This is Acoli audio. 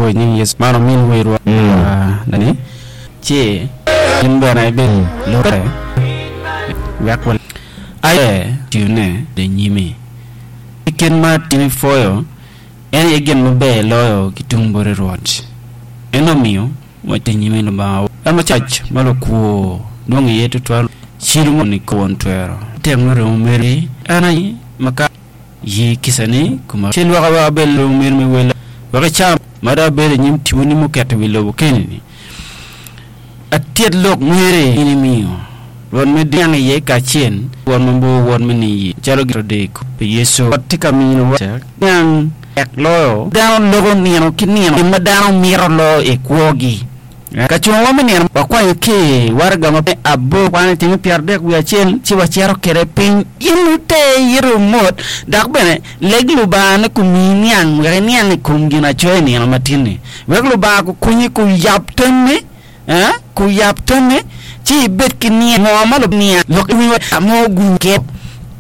I nying Yecu man omin werwa ni ci in bene ibed lute wek wa aye tiyone i nyimi. I kit ma in ipwoyo en aye gin maber loyo ki tung boti Rwot. En omiyo wa i nyimi Lubanga wa macac ma lukwo dwong iye tutwal cilo moni won twero tek me remo meri en aye ma ka Ye kicani koma ci lwaka wek abed remo meri me wella, wek icam ma dong abedo i nyim tiponi muketo i wi lobo keni-ni. Atyet lok meri in imiyo Rwot me niang iye kacel wot mabor wot me niye calo gito dek pi Yecu. Rwot tye ka minowa niang tek loyo dano loko nino ki nino gin ma dano mito loyo i kwogi. Ka cungowa me nino, wakwanyo ki i waraga ma abor kwan i tyeng 31 ci wacito kwede piny. In iter iti mot, dok bene leg Lubanga ni kumiyi niang wek iniang i kom ginacoya i nino matin-ni. Wek Lubanga kukonyi kuyab tammi, kuyab tammi ci ibed ki niang. Ngo ma Lubanga lok iwinywa mo guket?